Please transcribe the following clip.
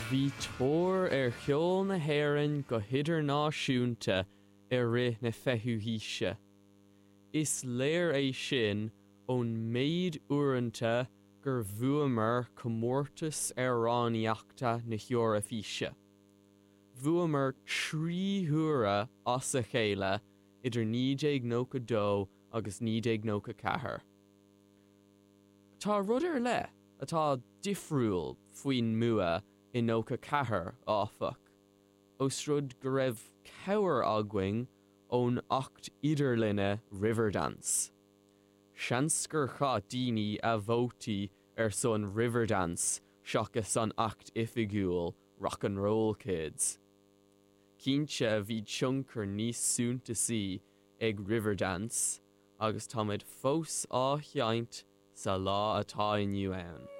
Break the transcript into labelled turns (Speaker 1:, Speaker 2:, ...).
Speaker 1: Bhí tóir ar cheol na hÉireann go hidirnáisiúnta i rith na fichiú haoise. Is léir é sin ón méid uaireanta gur bhuamar comórtas amhránaíochta na hEoraifíse. Bhuamar 3 huaire as a chéile idir 1992 agus 1994. Tá rud ar leith atá difriúil faoin mbua i 94, áfach, ós rud go raibh cabhair againn ón acht idirlinne Riverdance. Seans gur chaith daoine a vótaí ar son Riverdance seachas an acht oifigiúil Rock 'n' Roll Kids. Cinnte bhí tionchar níos suntasaí ag Riverdance agus táimid fós á sheinnt sa lá atá inniu ann.